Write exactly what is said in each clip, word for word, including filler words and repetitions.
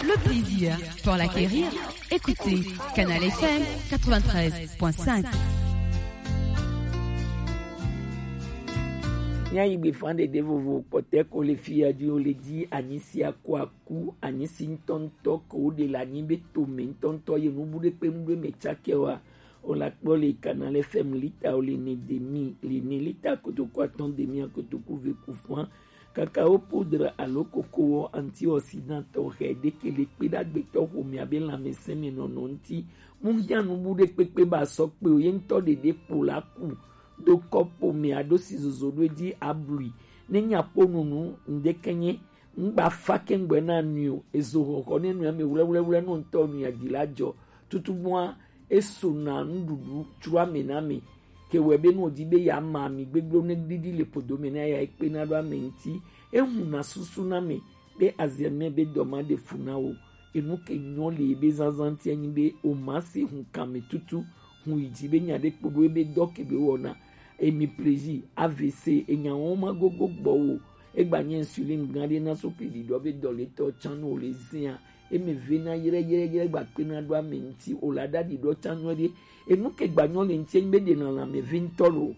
Le plaisir pour l'acquérir, écoutez Canal F M quatre-vingt-treize point cinq. Nya yi gbe fan de de vovo kpɔtɛ ko le fi ya di o le di anyi si akɔ aku anyi si ŋutɔŋutɔ ko o de la nyi be to me ŋutɔŋutɔ ye nu bu de kpe nu do me tsakɛ wa. O la kpɔ le Canal F M lita o le ne demi, le ne lita kotoku atɔn demi a kotoku ve ku fan. Cacao poudre alo coco antioxydant tɔxɛ ɖe ke le kpe ɖe agbetɔ xomea be lãmesẽ me nɔnɔ ŋuti. Mu hiã nu bu ɖe kpekpe ba sɔ kpe o, ye ŋutɔ ɖeɖe kpo la ku ɖo kɔpo me aɖo si zozo ɖo edzi ablui. Ne nya kpo nunu ŋɖeke nye ŋgba fa kɛŋgbɛ na nui o, ezo xɔxɔ ne nui ame wlɛwlɛwlɛ nɔ ŋutɔ nui adzi la dzɔ. Tutu bua esona nuɖuɖu tsro ame na ame. Ke wɔe be ne wòdi be yeama ami gbegblẽ ne ɖiɖi le ƒodo me na ya ekpena ɖo ame ŋuti. Ehuna susu na ame be aziame be dɔ ma ɖe fu na wò. Enu ke nyɔ le ebe zazã ŋuti enyi be wòma se hu kame tutu hu yi dzi be nya ɖe kpo ɖo ebe dɔ ke be wɔna. Emi plezi A V C enya wɔn ma gogo gbɔ wò. Egba nye insulin gã ɖe na so kli ɖiɖɔ be dɔ le tɔ tsã no le zia. Eme ve na yre yre yre gba kpe na ɖo ame ŋuti o la ɖa ɖiɖɔ tsã nyuie ɖe. Enu ke gba nyɔ le ŋuti enyi be ɖe na lãme ve ŋutɔ lo.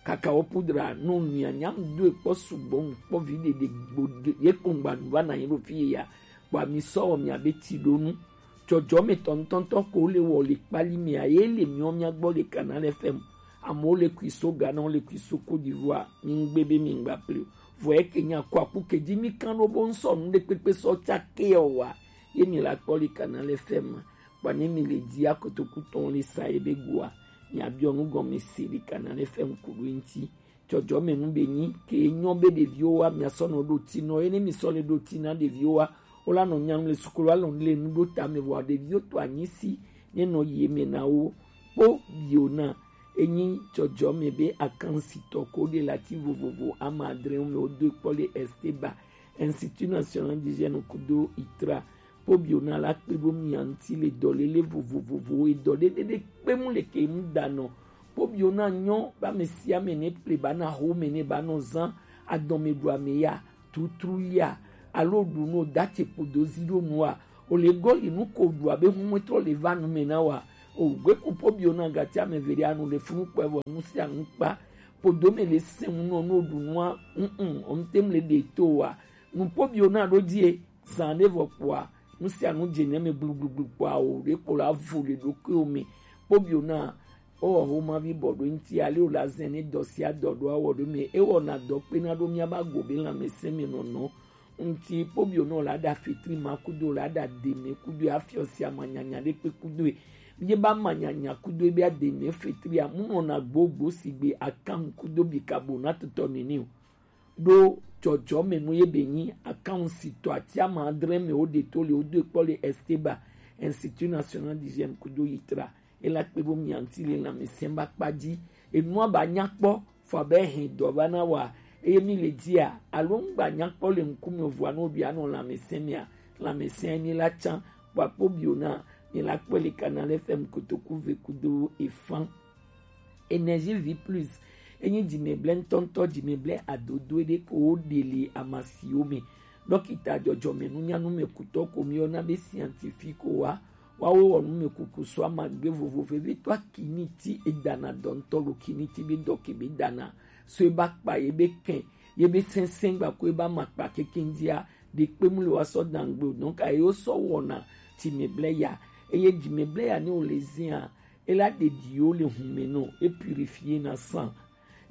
Cacao poudre no nui anya ŋdo ekpɔ sugbɔ ŋkpɔ vi ɖeɖe gbo ye kpɔngba nu va na yi ɖo fi ye ya. Kpɔ ami sɔ wɔ mia be ti ɖo nu. Dzɔdzɔme tɔntɔntɔ ko le wɔ le kpali mea ye le miɔ mia gbɔ le Canal F M. Amewo le kui so Ghana, wo le kui so Côte d'Ivoire. Mi ŋgbe be mi ŋgba ple o. Vɔ eke nya kɔ aku ke dzi mi kan ɖo bo ŋsɔ nu ɖe kpekpe sɔ tsake o wa. Ye mi la kpɔ le Canal F M. Kpɔ ne mi le dzi akotoku tɔn le sa ye be goa. Mi abiɔ nu gɔme se le Canal F M ku ɖo ŋuti. Dzɔdzɔme nu be nyi ke nyɔ be ɖeviwo wa mia sɔ nɔ ɖo ti nɔ ye ne mi sɔ le ɖo ti na ɖeviwo wa. Wo la nɔ nya nu le sukulu alɔ le nu ɖo tame vɔ ɖeviwo to anyi si ne nɔ yi eme na wo. Kpo biona enyi dzɔdzɔme be akansitɔ ko ɖe lati vovovo ama adre me wo do kpɔ le Esteba, Institut National d'Hygiène kudo itra. Kpo biona la kpe ɖo mia ŋuti le dɔlele vovovovowo edɔ ɖeɖe ɖe kpe mu le ke mu da nɔ. Kpo biona nyɔ ba me sia me ne ple ba na ho me ne ba nɔ zan adɔme ɖu ame ya tutru ya alo ɖu no da te kpodo zi ɖo nua. O le gɔli nu ko ɖu abe hu me trɔ le va nu me na wa. O gbe ku kpo biona gati ame ve ɖe anu le funu kpɛ vɔ nu sia nu kpa. Kpodo me le sɛn nu nɔ no ɖu nua. Mm, mm, o ŋte mu le ɖe to wa. Nu kpo biona ɖo die. Zan ɖe vɔ kpɔa, nu sia nu dze nye me gblugblugblu kpɔa o, ɖe kpo la vo le ɖokuiwo me. Kpo bio na, ewɔ homavi bɔ ɖo ŋuti, ale wòle azɛ ne dɔ sia dɔ ɖo awɔ ɖo me. Ewɔna dɔ kpena ɖo míabe ago be lãmesẽ me nɔnɔ ŋuti. Kpo bio na wòle aɖa fetri ma kudo, wòle aɖa deme kudo, afiɔ sia manyanya ɖe kpe kudo. Ye ba manyanya kudo be ademe fetria, mu nɔna gbogbo sigbe akan kudo bikabo na tutɔ nene o. Ɖo dzɔdzɔme nu ye be nyi akansitɔ ati ama adre me wo ɖe to le wo do kpɔ le Esteba, Institut National d'Hygiène kudo yitra. Ela kpe bo mianti le lãmesẽ ba kpa dzi. Enua ba nya kpɔ, fɔ abe hɛn dɔ va na wa. Eye mi le dzia, alo ŋgba nya kpɔ le ŋkume vɔa no bia no lãmesẽ mea, lãmesẽ mi la tsã, kpɔ akpɔ bio na, mi la kpɔe le Canal F M kotoku ve kudo efan. Énergie Vie Plus. Enyi dzimeble ŋutɔŋutɔ, dzimeble adodo ɖe ko wo ɖe le amasiwo me. Ɖɔkita dzɔdzɔme nunyanu me kutɔ ko mi yɔna be scientifique wa. Wawo wɔ numekuku so amagbe vovo vevitɔ kiniti edana dɔ ŋutɔ lo kiniti be dɔ ke be dana. So eba kpa ye be kɛn, ye be sɛnsɛn gba ko eba ma kpa kekeŋ dzia, ɖe kpe mu le wa sɔ dangbe o. Donc ayi wo sɔ wɔna dzimeble ya. Eye dzimeble ya ne wo le zia, ela ɖeɖi wo le hume nɔ, e purifier na sang.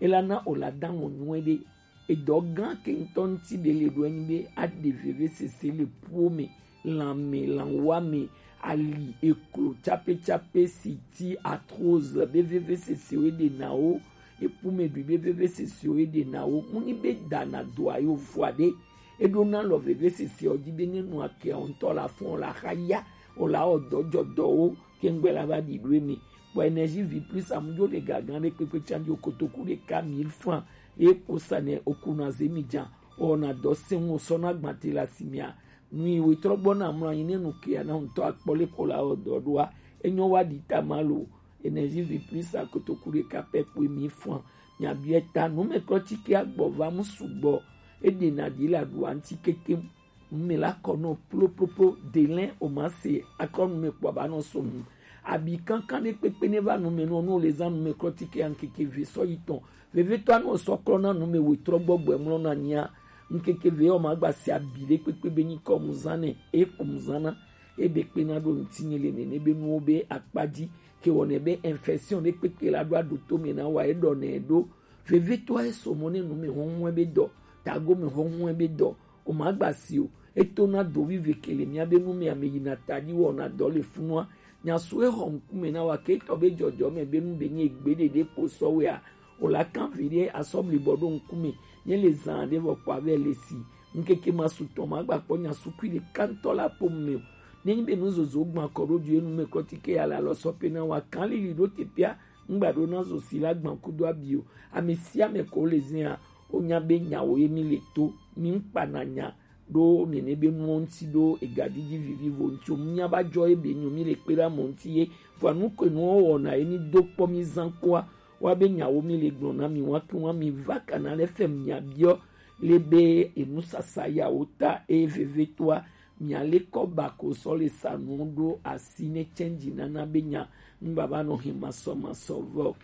Ela na o la da ŋɔ nyuie ɖe. Edɔ gã ke ŋutɔ ŋuti be le ɖo enyi be aɖe vevesese le puwo me, lãme, lãwa me, ali, eklo, tsapetsape, siti, arthrose, be vevesesewo eɖe na wo, epumeɖui be vevesesewo eɖe na wo. Mu nyi be dana doa yo vɔa ɖe. Eɖo na lɔ vevesese ɔ dzi be ne nua kea ŋutɔ la fɔn la xa ya o la wɔ dɔ dzɔ dɔwo. Kɛŋgbɛ la va ɖi ɖo eme. Kpɔ Énergie Vie Plus amudzo le gagan ɖe kpekpe tsa di o kotoku ɖeka mille francs. Ye ko sa nɛ o kuna ze mi dza. O na dɔ se ŋu o sɔ na gbate la si mia. Nui wo trɔ gbɔ na mlɔ anyi ne nu ke ana ŋutɔ akpɔ le ko la o dɔ ɖoa. Enyo wa ɖi ta ma lo. Énergie Vie Plus a kotoku ɖeka pɛ kpoe mille francs. Mia biɛ ta nu me klɔ tike agbɔ va mu sugbɔ. Eɖe na ɖi la ɖu anti kekem. Nume la kɔ nɔ ploploplo, delɛn o ma se akɔ nume kpɔ ba nɔ so nu. Abi kankan ɖe kpekpe ne va nume nɔ, nɔ le zan nume klɔtike ya ŋkeke ve sɔ yi tɔn. Vevetɔ anɔ sɔ klɔ na nume wetrɔ gbɔgbɔ mlɔ na nyia. Ŋkeke ve o ma gba se abi ɖe kpekpe be nyi kɔ mu zan nɛ, e kpo mu zan na. E be kpe na ɖo ŋtinye le nene be nuwo be akpa ji, ke wɔnɛ be infection ɖe kpekpe la ɖo aɖo to me na wa e ɖɔ nɛ ɖo. Vevetɔ e so mɔ ne nume hɔhɔn be dɔ, tago me hɔhɔn be dɔ. O ma gba si o. Eto na do vive kele mia be nu me ame yi na taji wɔ na dɔ le funua. Nya su e xɔ ŋkume na wa ke tɔ be jɔjɔ me be nu be nye gbe ɖeɖe kpo sɔ wea. O la kan vi ɖe asɔmli bɔ ɖo ŋkume. Nye le zan ɖe vɔ kpɔ avɛ le si. Ŋkeke ma su tɔ ma gba kpɔ nya su kui ɖe kantɔ la po me o. Ne nyi be nu zozo gban kɔ ɖo ju enu me kɔtike ya la lɔ sɔ pe na wa kan lili ɖo te pia. Ŋgba ɖo na zo si la gban kudo abi o. Ame sia ame ko le zia, o nya be nyawo ye mi le to, mi ŋkpa na nya ɖo nene be nuwo ŋuti ɖo ega didi vivivo ŋuti o. Mu nya ba jɔ ye be nyo mi le kpe ɖe amo ŋuti ye, vɔa nu ke nuwo wɔna ye mi do kpɔ mi zan kpoa, wa be nyawo mi le gblɔ na mi wa ke wa mi va kana le fem nya biɔ le be enu sasa ya wo ta e veve toa. Mia le kɔ ba ko sɔ le sa nu ɖo asi ne change nana be nya ŋgba ba nɔ he masɔ masɔ vɔ.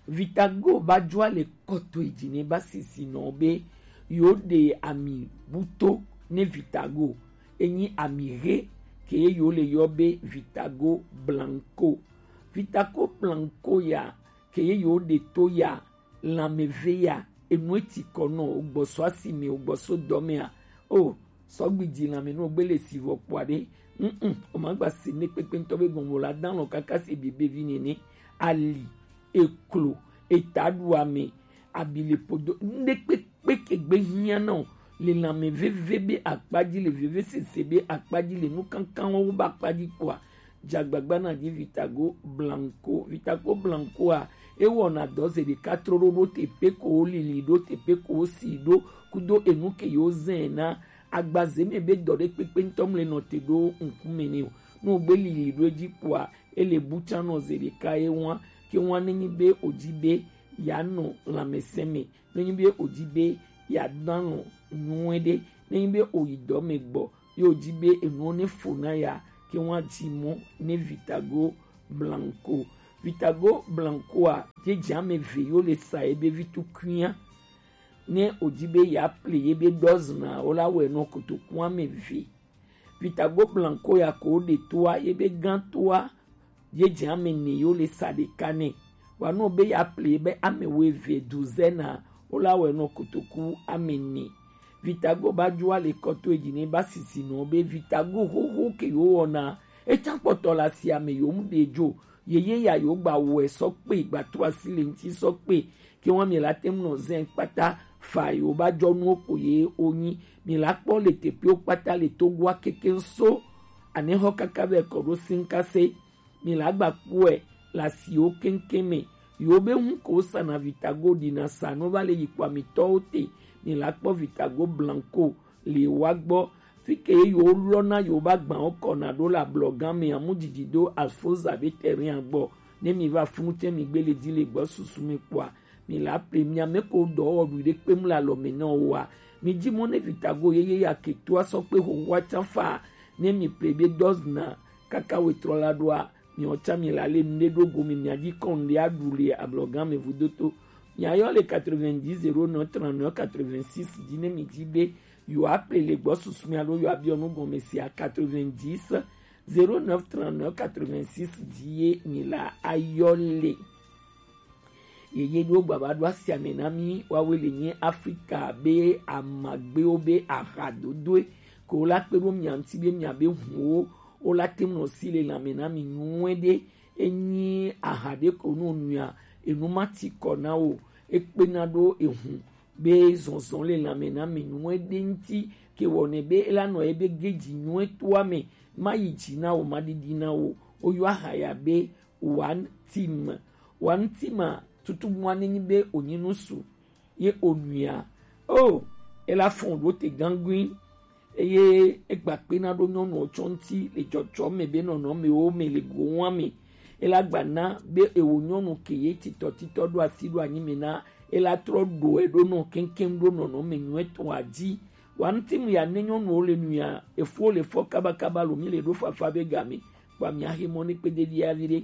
Vitago ba jua le kɔto eji ne ba sisi nɔ be yo de ami buto ne vitago enyi ami he ke yo le yɔ be vitago blanco. Vitago blanco ya ke yo de to ya lanmeve ya enu eti kɔ nɔ ogbɔsɔ asime ogbɔsɔ dɔmea o sɔgbi di lanme nɔ gbele si vɔ kpɔa ɖe. Mm, o ma gba si ne kpekpe ŋutɔ be gɔnvo la dan lɔ kaka si bibe vi nene ali eklo etaɖuame abi le podo ŋɖe kpekpe ke gbe hiã na o le lanme veve be akpa ji le veve sese be akpa ji le nu kankanwo wo ba akpa ji kpɔa. Dzagbagba na di vitago blanco. Vitago blanco a ewɔna dɔ ze ɖeka tro ɖo ɖo teƒe ko wo lili ɖo teƒe ko wo si ɖo kudo enu ke yewo zɛ na agbaze me be dɔ ɖe kpekpe ŋutɔ mle nɔ te ɖo ŋkume ne o. Ne wogbe lili ɖo edzi kpoa ele bu tsã nɔ ze ɖeka ye ŋua ke ŋua nenyi be wodzi be yeanɔ lãmesẽ me. Nenyi be wòdi be yeadalɔ̃ nyuie ɖe, nenyi be wòyi dɔ me gbɔ, ye wòdi be enuwo ne fo na ya, ke woadi mɔ ne Vitago Blanco. Vitago Blancoa, dzedze ame eve yewo le sa ye be vi tukuia. Ne wòdi be yeaple ye be dɔzna, wola wɔe nɔ kotoku ame eve. Vitago Blanco ya ko ɖe toa, ye be gã toa, ye dze ame ne yo le sa ɖeka nɛ. Wa nɔ be ya ple be ame wo eve du zena, wo la wɛ nɔ kotoku ame ne. Vitago ba dzo ale kɔto edzi ne ba sisi nɔ be Vitago xoxo ke yo wɔna, etsa kpɔtɔ la si ame yo mu ɖe dzo, yeye ya yo gba wɛ sɔ kpe, gba to asi le ŋti sɔ kpe, ke wa mi la te ŋu nɔ zɛn kpata fa yo ba dzɔ nuwo ko ye wo nyi. Mi la kpɔ le teƒewo kpata le Togoa kekeŋ so anexɔ kaka vɛ kɔ ɖo Sinkase. Mi la gba kpɔe le asiwo keŋkeŋ me. Yewo be ŋu ko wosana Vitago ɖina sa no va le yi kpɔ amitɔwo te. Mi la kpɔ Vitago Blanco le wa gbɔ. Fi ke ye yewo lɔna yewo ba gbawo kɔna ɖo le ablɔgã me amu dzidzi do Alfoza be terrain gbɔ. Ne mi va funu tse mi gbe le di le gbɔ susu me kpɔa, mi la ple mia me ko dɔ wɔ ɖu ɖe kpem le alɔ me na wo wa. Mi dzi mɔ ne Vitago yeye ya ke toa sɔ kpe xoxoa tsa fa. Ne mi ple be dɔzna kaka wetrɔ la ɖoa, mi ɔtsa mi la le nuɖe ɖo go mi mia dzi kɔn ɖe aɖu le ablɔgã me vudoto. Mia yɔ le quatre-vingt-dix zéro neuf trente-neuf quatre-vingt-six dzi ne mi dzi be yewo aple le gbɔ susu mi alo yewo abiɔ nu gɔme sia quatre-vingt-dix zéro neuf trente-neuf quatre-vingt-six dzi ye mi la ayɔ le. Yeye ɖewo gbava ɖo asia me na mi, woawoe le nye Afrika be amagbewo be ahadodoe, ke wo la kpe ɖo mia ŋuti be mia be huwo, wo la te ŋu nɔ si le lãme na mi nyuie ɖe. Enyi aha ɖe ko nu nuia, enu ma ti kɔ na wo, ekpena ɖo ehu be zɔzɔ le lãme na mi nyuie ɖe ŋuti, ke wɔnɛ be ela nɔ ebe geji nyuie toa me, ma yi dzi na wo, ma ɖiɖi na wo. Woyɔ aha ya be One Team. One Team a, tutu mua ne nyi be wonyi nusu ye onuia. O, ela fɔn ɖo te gangui. Eye egba kpena ɖo nyɔnuwo tsɔ ŋuti le dzɔdzɔ me be nɔnɔmewo me le gowa me. Ela gba na be ewo nyɔnu ke ye titɔ titɔ ɖo asi ɖo anyi me na ela trɔ ɖo eɖo nɔ keŋkeŋ ɖo nɔnɔme nyuietɔa dzi. Wa ŋuti mu ya ne nyɔnuwo le nu ya, efuwo le fɔ kabakaba lo, mi le ɖo fafa be game, kpa mi axe mɔ ne kpede ɖi avi ɖe.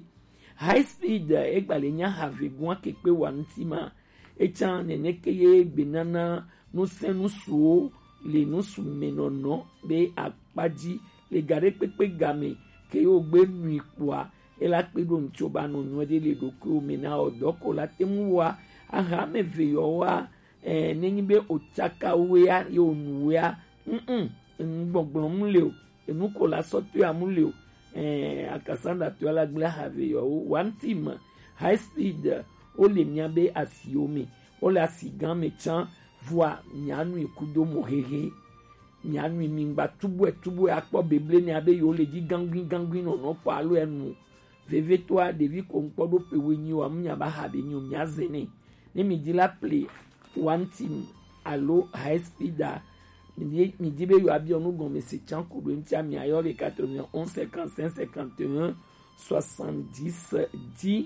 High speed, egba le nya have gua ke kpe wa ŋuti ma. Etsa nene ke ye gbe nana nusẽ nusuwo le nusu me nɔnɔ be akpa dzi le ga ɖe kpekpe game ke yo gbe nui kpɔa, ela kpe ɖo ŋutso ba nɔ nyuɛ ɖe le ɖokuiwo me na ɔ dɔ ko la te mu wa aha me ve yɔ wa. Eh, nenyi be o tsaka wea ye o nu wea, mm, mm, enu gbɔgblɔm le o, enu ko la sɔ toea mu le o. Eh, akasanda toea la gblẽ have yɔ wo. One team, high speed, wo le mia be asiwo me, wo le asi gã me tsã, vɔa mia nui kudo mo hehe. Mia nui mi ŋgba tubue tubue akpɔ beble ne abe yo le dzi gangui gangui nɔnɔ kpɔ alo enu. Vevitɔa, ɖevi ko ŋkpɔ ɖo pe wenyi wa, mu nya ba ha be nyi o, mia zɛ nɛ. Ne mi di la play one team alo high speed a, mi di, mi di be yo abiɔ nu gɔme se tsan ko ɖo ŋutia, mi ayɔ le quatre-vingt-onze cinquante-cinq cinquante et un soixante-dix dix.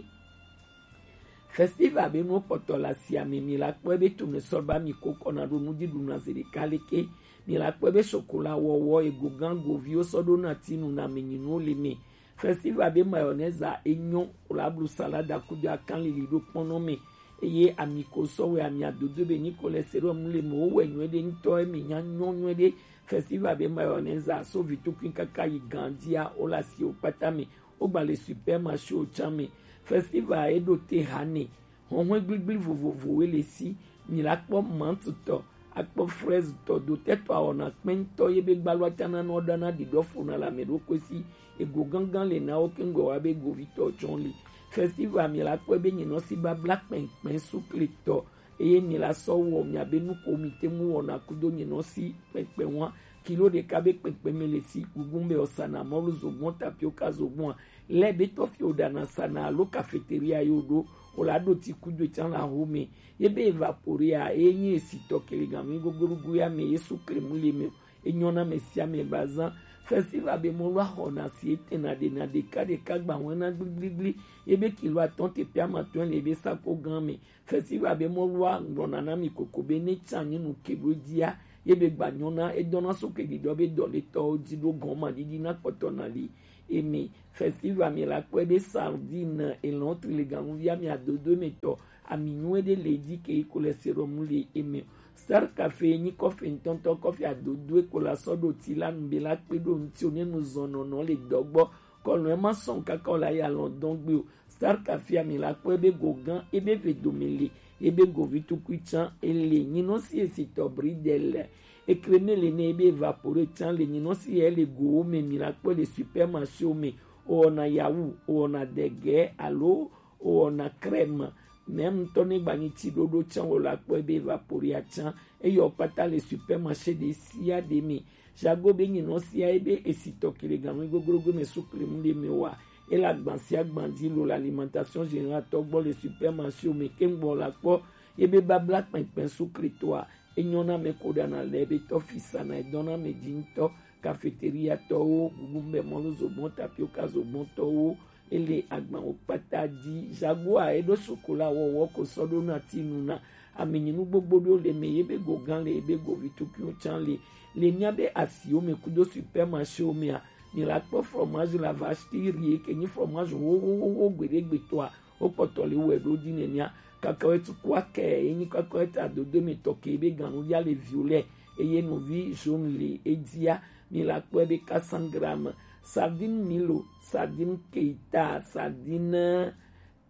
Festival be nuwo kpɔtɔ le asia me, mi la kpɔe be tome sɔ ba mi ko kɔna ɖo nuɖuɖu na zi ɖeka leke, mi la kpɔe be sokola wɔwɔ, ego gã goviwo sɔ ɖo na tinu na me nyi nuwo le me. Festival be mayonnaise a enyo, wòle ablu salada kudo akan lili ɖo kpɔnɔ me. Eye ami ko sɔ wɛ ami adodo be nyi cholesterol mu le me, wowɛ nyuie ɖe ŋutɔ, emi nya nyɔ nyuie ɖe. Festival be mayonnaise a so vitukui kaka yi gandia, wole asiwo kpata me, wogba le supermarché wo tsã me. Festival e ɖo te ha ne. Hɔnhɔn gbligble vovovowoe le si. Mi la kpɔ mantutɔ, akpɔ fraise tɔ, dotɛtɔ awɔna kpɛntɔ ye be gbalo atsana nɔ ɖana ɖiɖɔ fona le ame ɖokui si. Ego gangan le na wo keŋgbe wa be govitɔ tsɔn li. Festival mi la kpɔe be nyinɔ si babla kpɛnkpɛn sukle tɔ, eye mi la sɔ wɔ mia be nuko mi te mu wɔna kudo nyinɔ si kpɛnkpɛn wa. Kilo ɖeka be kpɛnkpɛn me le si gugun be ɔsana mɔlu zogbɔn tapioka zogbɔn a. Lɛ be tɔfi wo ɖana sana alo cafeteria yo ɖo, wo la ɖo ti kudo tsan la ho me. Ye be evaporea, e nyi esi tɔ kelegan mi gogorugu ya me, ye sukle mu le me o. Enyɔ na me sia me ba zan. Festival be mɔlu axɔna si etena ɖena ɖeka ɖeka gba hɔn na gbligbligbli. Ye be kilo atɔn te pe amatɔn le be sako gan me. Festival be mɔlua ŋgblɔna na mi koko be ne tsa nyi nu ke ɖo dzia, ye be gba nyɔna edɔna so ke ɖiɖɔ be dɔletɔwo dzi ɖo gɔn ma ɖiɖi na kpɔtɔ na li. Emi festival mi la kpɔe be sardine elɔn tri le ganuvia mi adodo me tɔ ami nyuie ɖe le dzi ke yi cholesterol mu le eme. Star Cafe nyi kɔfe ŋutɔŋutɔ, kɔfe adodo e ko la sɔ ɖo ti la nu be la kpe ɖo ŋuti o ne nu zɔn nɔnɔ le dɔgbɔ. Kɔlɔn e ma sɔn kaka o la ya lɔn dɔn gbe o. Star Cafe mi la kpɔe be go gã, ebe ve dome le, ebe govi tukui tsã ele, nyinɔ si esi tɔ bridel, ekreme le ne ebe vapore tsã le, nyinɔ si ele gowo me, mi la kpɔe le supermarché wo me, o wɔna yawu, o wɔna dege alo o wɔna crème, même ŋutɔ ne gba nyi ti ɖoɖo tsã o la kpɔe be vapore tsã, eyɔ kpata le supermarché ɖe sia ɖe me. Jago be nyinɔ sia ebe esi tɔ kilogramme goglogo me sukle mu le me wa. Ela gban sia gban dzi lo la alimentation générale tɔ gbɔ le supermarché me kengbo la kpɔ. Ebe babla kpɛnkpɛn sukle toa enyɔ na me ko ɖana le ebe tɔ fisa na edɔ na me dzi ŋutɔ. Cafeteria tɔwo, gugu be mɔlu zogbɔn, tapioca zogbɔn tɔwo, ele agban wo kpata dzi. Jagoa eɖo sokola wɔwɔ ko sɔ ɖo na ti nu na amenyinu gbogbo ɖewo le me, ye be go gã le, ye be govi tukuiwo tsã le. Le mía be asiwo me kudo supermarché wo mea, mi la kpɔ fromage la vache qui rit ke nyi fromage wo wo wo wo gbeɖe gbetɔa, wo kpɔtɔ le wɛ ɖo di nenea. Cacahuète kua ke ye nyi cacahuète adodo me tɔ ke be ganu ya le violet, eye novi jaune le edzia. Mi la kpɔe be quatre cents grammes. Sardine Milo, sardine Keita, sardine,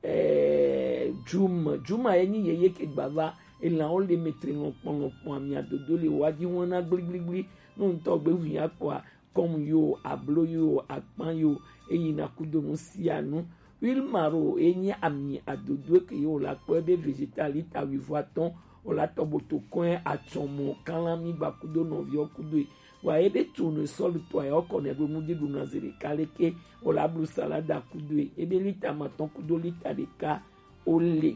eh, Jum. Juma ye nyi yeye ke gbava. Elanwo le metre lɔnkpɔn lɔnkpɔn, ami adodo le wa dzi wɔna gbligbligbli. No ŋutɔ gbe ʋu ya kpɔa, kɔm yo, ablo yo, akpan yo, eyi na kudo nu sia nu. Huile maro ye nyi ami adodo ke ye wo la kpɔe be végétal lita wuivo atɔ̃, wo la tɔ boto kɔe atsɔmɔ, kalami gba kudo nɔviɔ kudo e. Wa ye be tournesol tɔ ya wo kɔ nɛ ɖo nuɖuɖu na zi ɖeka leke, wo la blu salada kudo e. Ye be lita matɔ̃ kudo lita ɖeka wo le.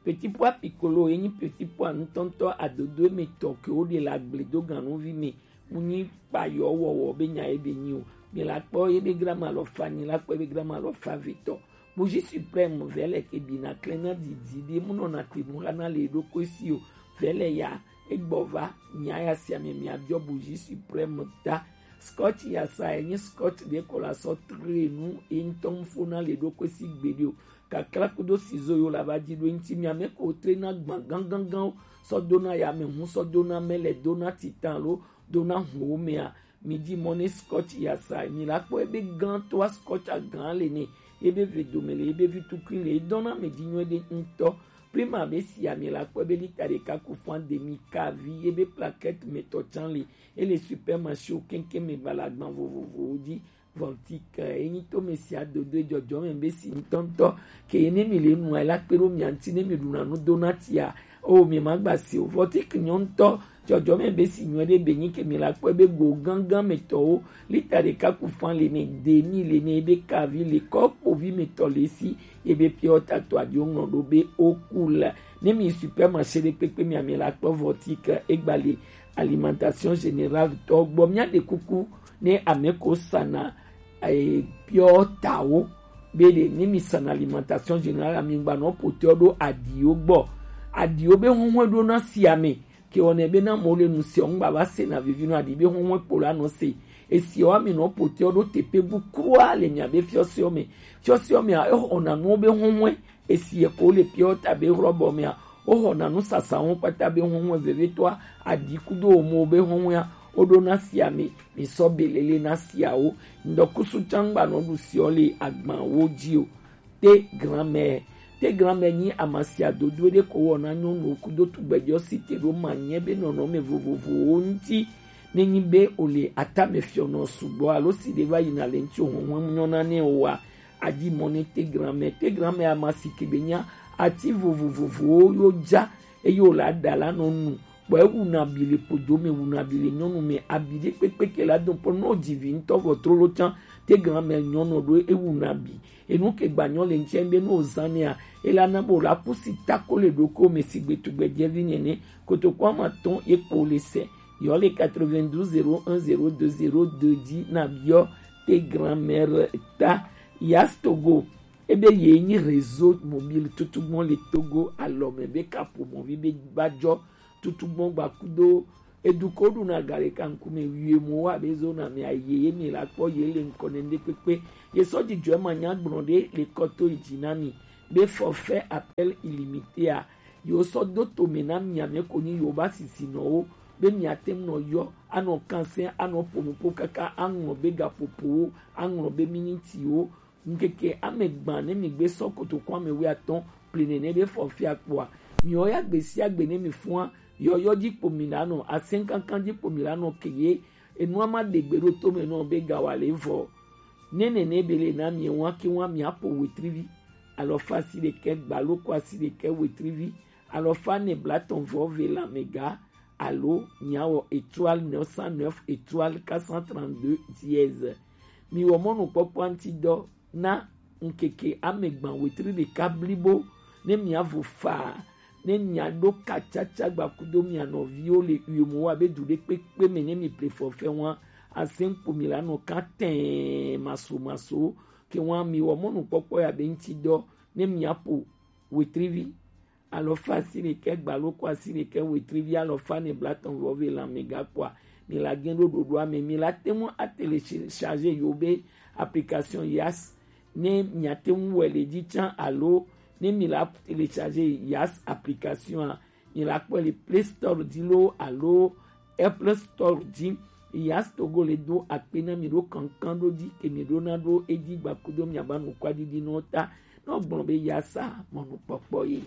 Petit pois piccolo ye nyi petit pois ŋutɔŋutɔ adodo me tɔ ke wo ɖe la gble do ganuvi me. Mu nyi kpayɔ wɔwɔ be nya ye be nyi o. Mi la kpɔ ye be grama alɔfa, nyi la kpɔ ye be grama alɔfa ve tɔ. Bougie suprême vɛlɛ ke bi na klɛ na didi ɖe mu nɔ na te nu xa na le ɖokui si o. Vɛlɛ ya Egbɔ va, mia ya sia me mia biɔ bougie suprême ta. Scotch ya sa enyi scotch ɖe ko la sɔ tre nu e ŋutɔ ŋfo na le ɖo kwe si gbeɖe o. Kakla kudo sizo yo la va dzi ɖo eŋuti mia me ko tre na gban ganganganwo sɔ do na ya me hu sɔ do na mele do na titan lo do na huwo mea. Mi di mɔ ne scotch ya sa mi la kpɔ ebe gan to a scotch a gan le ne ebe ve dome le ebe vi tukui le edɔn na mi di nyuie ɖe ŋutɔ. Prima be si ami la kpɔ ebe lita ɖeka ku fan demi kavi ebe plaquette me tɔ can le ele supermarché o kɛnkɛn me gbalagban vovovowo di. Vɔntik enyi to me si adodo ejɔjɔ me be si ŋutɔŋutɔ ke ye ne mi le nua la kpe ɖo mia ŋuti ne mi ɖuna nu do na tia o mi ma gba si o. Vɔntik nyɔŋutɔ jɔjɔ me be si nyuie ɖe be nyi ke mi la kpɔe be go gangan me tɔwo lita ɖeka ku fan le ne demi le ne ebe kavi le kɔ kpovi me tɔ le si ebe piɔ tatɔ adio ŋlɔ ɖo be o ku la ne mi supermarché ɖe kpekpe mi ami la kpɔ vɔntik egba le alimentation générale tɔ gbɔ mia ɖe kuku ne ame ko sana eh, piɔ tawo be ɖe ne mi sana alimentation générale ami gba nɔ potɔ ɖo adiwo gbɔ adiwo be huhun ɖo na si ame ke wɔnɛ be na mo le nu si ɔngba va se na vivi nɔ adi be huhun kpo la nɔ se esi wa mi nɔ potɔ ɖo tepe bu krua le mia be fiɔsiɔ me fiɔsiɔ me a ehɔna nuwo be huhun esi ye ko le piɔ ta be hrɔbɔ mea woxɔna nusasa ŋu kpata be huhun vevitɔa adi kudo omo be huhun ya woɖo na sia mi mi sɔ belele na siawo ŋdɔkusu tsangba nɔ ɖu siɔ le agbawo dzi o. Te granmɛ te granmɛ nyi amasia dodo ɖe ko wɔna nyɔnuwo kudo tugbɛjɔ si te ɖo ma nyɛ be nɔnɔme vovovowo ŋuti ne nyi be o le atame fiɔnɔ sugbɔ alo si ɖe va yina le ŋuti o huhun nyɔna nɛ o wa Adi mɔ ne te granmɛ te granmɛ ama si ke be nya ati vovovovowo yo ja eye wòle aɖa la nɔ nu kpɔ ewu na bi le ƒodo me wu na bi le nyɔnu me abi ɖe kpekpe ke la dɔn pɔ nɔ dzi vi ŋutɔ vɔ trolo tsã te granmɛ nyɔnu ɖo ewu na bi enu ke gba nyɔ le ŋtsɛ be no zan nea ela na bo la kusi tako le ɖoko me si gbe tugbɛ dze vi nene kotoko ama tɔn ye kpo le se yɔ le quatre-vingt-douze zéro un zéro deux zéro deux dzi na biɔ te granmɛ ta Yas Togo, ebe ye nyi réseau mobile tutugbɔn le Togo alɔme be kaƒomɔvi be gbajɔ tutugbɔn gbakudo edu ko ɖuna ga ɖeka ŋkume wie mo wa be zona me aye ye mi la kpɔ ye le ŋkɔ ne ŋɖe kpekpe ye sɔ dzidzɔ ma nya gblɔ ɖe le kɔto yi dzi na mi be forfait appel illimité a yo sɔ do to me na mi ame ko nyi yo ba sisi nɔ wo be mi ate ŋu nɔ yɔ anɔ kansɛ anɔ ƒo nuƒo kaka aŋlɔ be gaƒoƒowo aŋlɔ be minitiwo Ŋkeke ame gbã ne mi gbe sɔ kotoko ame wuiatɔ̃ pli nene be fɔfia kpoa, miwo ya gbe sia gbe ne mi fua yɔyɔ dzi kpo mi la nɔ, asɛnkankan dzi kpo mi la nɔ ke ye enua ma ɖe gbe ɖo to me nɔ be gawa le vɔ. Ne nene be le na mi wa ke wa mi apo wetrivi alɔfa si ɖekɛ gbalo ko asi ɖekɛ wetrivi alɔfa ne blatɔn vɔ ve la me ga alo miawɔ étoile neuf cent neuf étoile quatre cent trente-deux dièse. Miwɔ mɔnukpɔkpɔa ŋuti dɔ na ŋkeke ame gbã wetri ɖeka blibo ne miavo faa ne miaɖo katsatsa gbakudo mia nɔviwo le uyomo wa be du ɖe kpekpe me ne mi ple fɔfɛ wa asɛn kpo mi la nɔ katɛn maso maso ke wa miwɔ mɔnukpɔkpɔ ya be ŋuti dɔ ne miaƒo wetrivi alɔfa asiɖekɛ gbalo ko asiɖekɛ wetrivi alɔfa ne blatɔn vɔ ve lanmɛ gakpoa mi la gɛn ɖo ɖoɖoa me mi la te ŋu atelecharge yo be application yas ne miate ŋu wɛ le dzi tsã alo ne mi la télécharger yas application a mi la kpɔe le play store dzi loo alo apple store dzi yas togo le do akpe na mi ɖo kankan ɖo dzi ke mi ɖo na ɖo edzi gbakudo miaba nukua ɖiɖi nɔ ta nɔ gblɔ be yasa mɔnukpɔkpɔ ye.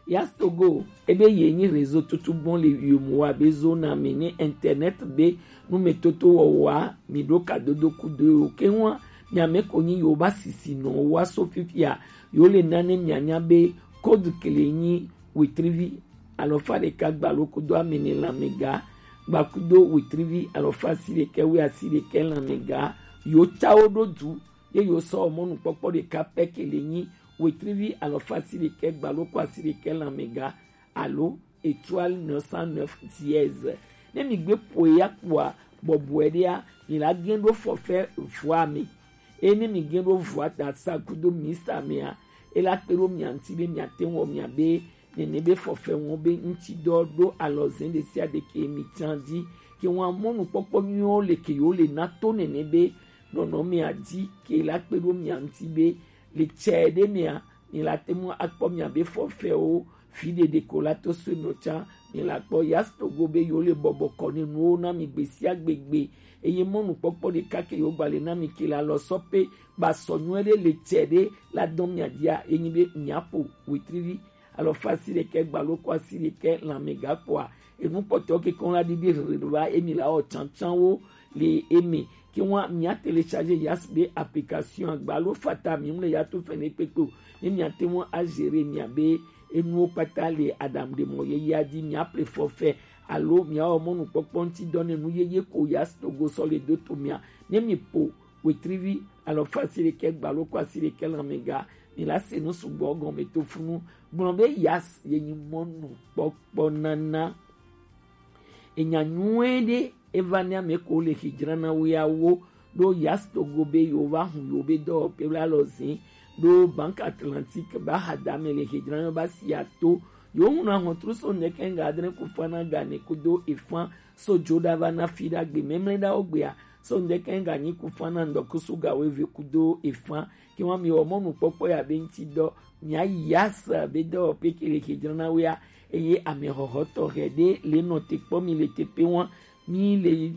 Yas Togo ebe ye nyi réseau tutugbɔn le yomo wa be zona me ne internet be numetoto wɔwɔa mi ɖo kadodo kudo yo keŋua mi ame ko nyi yo ba sisi nɔ wa so fifia yo le na ne mianya be code kele nyi wetrivi alɔfa ɖeka gbalo kudo amene lanmega gbakudo wetrivi alɔfa asiɖekɛ wi asiɖekɛ lanmega yo cawo ɖo du ye yo sɔ mɔnukpɔkpɔ ɖeka pɛ kele nyi wetrivi alɔfa asiɖekɛ gbalo ko asiɖekɛ lanmega alo étoile neuf cent neuf dièse. Ne mi gbe ƒoe ya kpoa bɔbɔe ɖea mi la gɛn ɖo forfait voix me. Eye ne mi gɛn ɖo voix ta sa kudo mista mea, e la kpe ɖo mia ŋuti be miate ŋu wɔ mia be nene be fɔfɛ wɔn be ŋuti dɔ ɖo alɔzɛn ɖe sia ɖe ke mi can ji ke wɔn amɔnu kpɔkpɔ nyuiwo le ke yewo le na to nene be nɔnɔmea ji ke la kpe ɖo mia ŋuti be le cɛ ɖe mea mi la te ŋu akpɔ miabe fɔfɛwo fi ɖeɖe ko la to so nɔ tsã mi la kpɔ Yas Togo be yewo le bɔbɔ kɔ ne nuwo na mi gbe sia gbe gbe eye mɔnukpɔkpɔ ɖeka ke yewo gba le na mi ke la lɔ sɔ pe ba sɔ nyuie ɖe le cɛ ɖe la dɔn mia dia ye nyi be mia ƒo wetrivi alɔfa asi ɖekɛ gbalo ko asi ɖekɛ lanmɛga kpɔa enu kpɔtɔ ke kɔn la ɖiɖi hlihli va emi la wɔ tsantsanwo le emi ke ŋua mia télécharger Yas be application gbalo fata mi ŋu le ya to fɛnɛ kpekpe o ne mia te ŋu a gérer mia be enuwo kpata le aɖaŋuɖemɔ yeyea dzi mia ple forfait alo mia wɔ mɔnukpɔkpɔ ŋuti dɔ ne nu yeye ko Yas Togo sɔ le do to mia ne mi ƒo wetrivi alɔfa asi ɖekɛ gbalo ko asi ɖekɛ lanmɛga mi la se nu sugbɔ gɔme to funu gblɔ be Yas ye nyi mɔnukpɔkpɔ nana. Enya nyuie ɖe eva ne ame ko le xi dzrana wo ya wo ɖo Yas Togo be yewo va hu yewo be dɔwɔƒe la lɔ zin ɖo Banque Atlantique ba ha da me le xi dzrana ba si ato yewo ŋu na hɔntru so ŋdɛkɛ ŋga adre ku fana gane kudo efan so dzo ɖa va na fi ɖa gbe memle ɖa wo gbea so ŋdɛkɛ ŋga nyi ku fana ŋdɔkusu ga wo eve kudo efan ke wa mi wɔ mɔnukpɔkpɔ ya be ŋuti dɔ mia Yas be dɔwɔƒe ke le xi dzrana wo ya eye ame xɔxɔ tɔxɛ ɖe le nɔ te kpɔ mi le teƒe wa mi le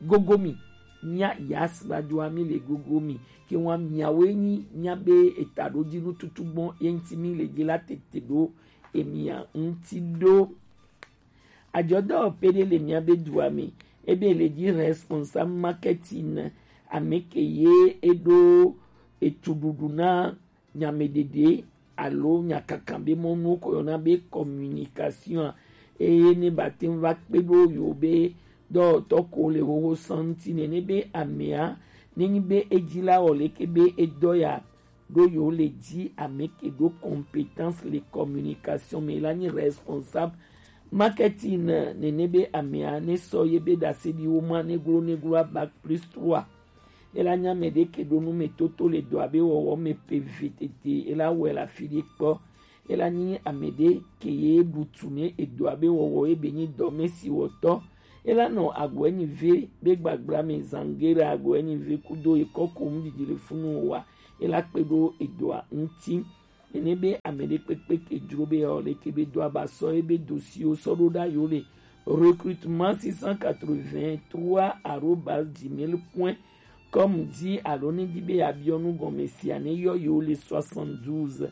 gogo mi mia Yas va doa mi le gogo mi ke wa miawoe nyi mia be eta ɖo dzi nututu gbɔn ye ŋuti mi le dzi la tete ɖo emia ŋuti ɖo. Adzɔdɔwɔƒe ɖe le mia be dua me ebe le dzi responsable marketing ame ke ye eɖo etuɖuɖu na nyameɖeɖe alo nyakaka be mɔnuwo ko yɔna be communication eye ne ba te ŋu va kpe ɖo yewo be dɔwɔtɔ ko le xoxo sɔn ŋuti nene be amea nenyi be edzi la wɔ leke be edɔ ya ɖo yewo le dzi ame ke ɖo compétence le communication me la nyi responsable marketing nene be amea ne sɔ ye be ɖaseɖiwo ma neglo neglo a bac plus trois Ela nyi ame ɖe ke ɖo nu me toto le dɔ abe wɔwɔ me pe vi tete. Ela wɔe le afi ɖe kpɔ. Ela nyi ame ɖe ke ye ɖu tu ne edɔ abe wɔwɔ ye be nyi dɔ me si wɔtɔ. Ela nɔ agɔ enyi ve be gbagbla me zangera agɔ enyi ve kudo ekɔ ko nu didi le funu wa. Ela kpe ɖo edɔa ŋuti. Nene be ame ɖe kpekpe ke dzro be yeawɔ leke be do aba sɔ ebe dosiwo sɔ ɖo ɖa yewo le recrutement six cent quatre-vingt-trois arobase gmail point com dzi alo ne di be yeabiɔ nu gɔme sia ne yɔ yewo le soixante-douze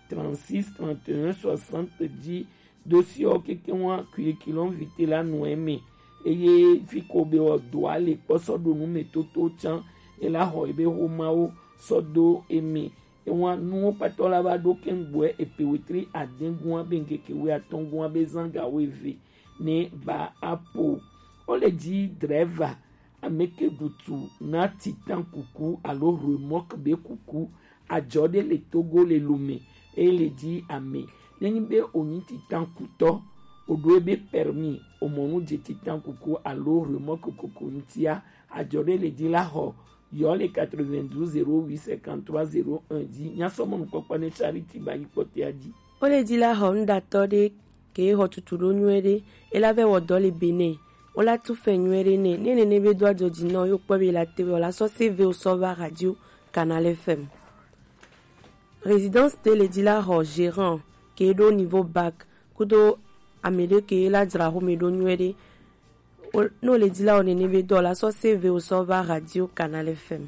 trente-six trente et un soixante dzi dosiwo keke wa curriculum vitae la nɔ eme eye fi ko be wɔ doa le kpɔ sɔ ɖo nu me toto tsã ela xɔ ebe xomawo sɔ do eme Ewa nuwo kpatɔ la va ɖo kɛŋgbɔɛ epe wetri adɛngua be ŋkeke wuiatɔngua be zanga wuieve ne ba apo. Wo le dzi drɛva ame ke ɖutu na titan kuku alo remɔk be kuku adzɔ ɖe le Togo le Lome eye le dzi ame nenyi be wonyi titan kutɔ oɖo ebe permis omɔnu dze titan kuku alo remɔk kuku ŋutia adzɔ ɖe le dzi la xɔ Yɔ le quatre-vingt-douze zéro huit cinquante-trois zéro un dzi. Nyasɔ mɔnukpɔkpɔ ne Charity ba yi kpɔtɔa dzi. Wo le dzi la xɔ nuɖatɔ ɖe ke xɔ tutu ɖo nyuie ɖe. E la vɛ wɔ dɔ le Benin. Wo la tu fɛ nyuie ɖe nɛ. Ne nene be do adzɔ dzi nɔ yo kpɔ be la te wɔ la sɔ C V o sɔ va radio Canal F M. Résidence te le dzi la xɔ gérant ke ɖo niveau bac kudo ame ɖe ke la dzra xome ɖo nyuie ɖe. Ne wo le dzi la wɔ nene be dɔ la sɔ C V o sɔ va radio Canal F M.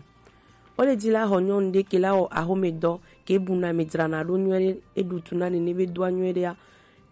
Wo le dzi la xɔ nyɔnu ɖe ke la wɔ axome dɔ ke bu na me dzrana ɖo nyuie ɖe e ɖu tu na nene be doa nyuie ɖea.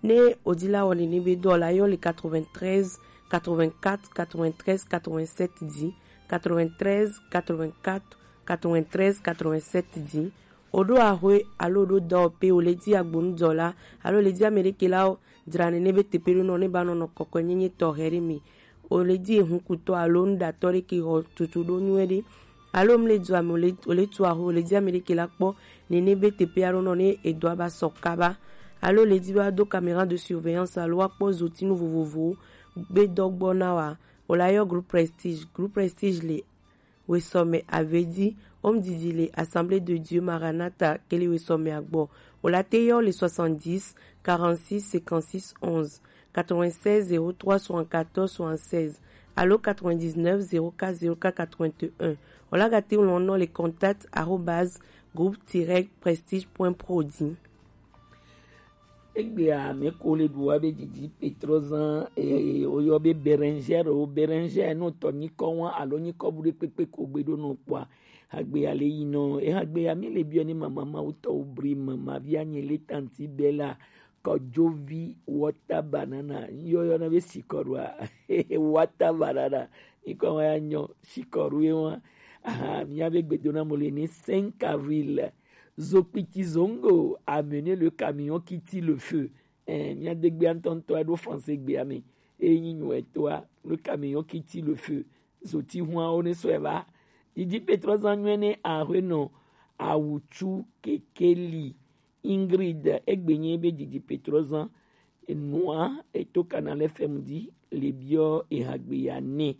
Ne wo dzi la wɔ nene be dɔ la yɔ le quatre-vingt-treize quatre-vingt-quatre quatre-vingt-treize quatre-vingt-sept dzi quatre-vingt-treize quatre-vingt-quatre quatre-vingt-treize quatre-vingt-sept dzi. Wo ɖo axwe alo ɖo dɔwɔƒe wo le dzi agbonudɔla alo le dzi ame ɖe ke la dzra nene be teƒe ɖo nɔ ne ba nɔnɔ kɔkɔe nyenye tɔxɛ ɖe me. Wo le dzi ehunkutɔ alo nuɖatɔ ɖe ke xɔ tutu ɖo nyuie ɖe. Alo mu le dua me wo le tu axwe wo le dzi ame ɖe ke la kpɔ nene be teƒe aɖo nɔ ne edɔa ba sɔ kaba. Alo le dzi ba do caméra de surveillance alo wa kpɔ zotinu vovovowo be dɔ gbɔ na wa. Wo la yɔ groupe Prestige. Groupe Prestige le wesɔmɛ avedi, home didi le Assemblée de Dieu Maranatha kele wesɔmɛ agbɔ. Olate yɔ le soixante-dix, quarante-six, cinquante-six, onze, quatre-vingt-seize, zéro trois, soixante-quatorze, soixante-seize, alo quatre-vingt-dix-neuf, zéro quatre, zéro quatre, quatre-vingt-un. Olagate lɔn nɔ le contact arobase groupe tiret prestige point pro di. Egbea mɛ ko le ɖu wa be didi Petrozan, e, woyɔ be Bérengère o, Bérengère, no tɔ nyikɔ wa alo nyikɔ bu ɖe kpekpe ko gbe ɖo nɔ kpɔa. Hagbea le yi nɔ, e hagbea mi le biɔ ni mama ma wutɔ wo bri mama via nye le tanti Bella, kɔjovi, water banana, yɔyɔ na be sikɔɖua, water banana, nyikɔ wa ya nyɔ, sikɔɖu ye wa. Aha, mi ya be gbedona mo le ni cinq avril. Zokpiti Zongo a mené le camion qui tire le feu. Eh, mía degbe ŋutɔŋutɔ ɖo français gbea me. Eyi nyi nyuɛtɔa, le camion qui tire le feu. Zoti hua wo ne sɔe va. Didi Petrozan nyuɛ ne ahwe nɔ awutsu kekeli. Ingrid, egbe nye be didi Petrozan. Enua eto Canal F M di le biɔ ehagbeya nɛ.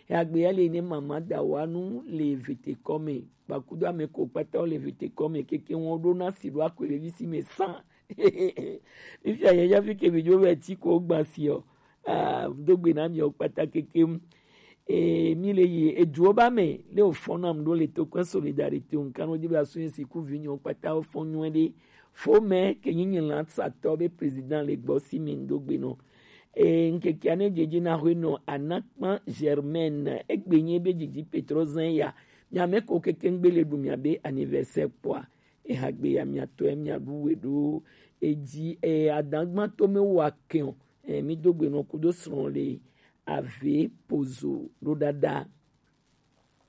Ehagbeya le ne mama da wa nu le vete kɔme. Kpakudo ame ko kpata wo le vete kɔme keke wɔn ɖo na si ɖo akɔe le visi me san. Fifia yɛ ya fi ke mi dzo vɛ ti ko gba si o. Ah, do gbe na mi o kpata keke. E, mi le yi eduwo ba me, le o fɔn nam ɖo le to kɔe solidarité o, nkan no di be asu yin si ku vi nyɔ kpata o fɔn nyuɛ ɖe. Fo mɛ ke nyi nyi lan satɔ be président le gbɔ si mi ŋdo gbe nɔ. E, ŋkeke ane dzedze na hwe nɔ Anakpan Germaine, egbe nye be didi Petrozan ya. Mia me ko keke ŋgbe le ɖu mia be anniversaire kpɔa. Ehagbe ya mia tɔe mia ɖu we ɖo. Edzi, e, adagba to me wa kɛn o. E, mi do gbe nɔ kudo srɔ̃ le ave pozo ɖo ɖaɖa.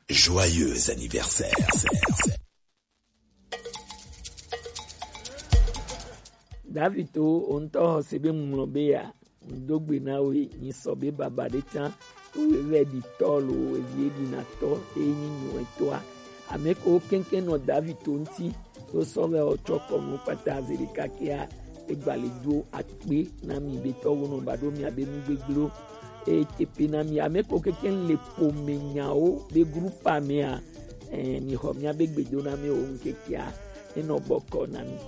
Joyeux anniversaire. Davito, o ŋutɔ xɔ se be ŋlɔ be ya, ŋdo gbe na we, nyi sɔ be baba ɖe tsã, to we vɛ ɖi tɔ lo, evi e ɖi na tɔ, e nyi nyuɛ tɔa. Ame ko keŋkeŋ nɔ Davito ŋuti, to sɔ vɛ o tsɔ kɔ nu kpata ze ɖeka kea, e gba le do akpe na mi be tɔ wo nɔ ba ɖo mia be nu gbegbleo. E tepe na mi, ame ko keŋkeŋ le pome nyawo be groupe mea, eh, mi xɔ mia be gbedona me o ŋkekea, e nɔ bɔkɔ na mi.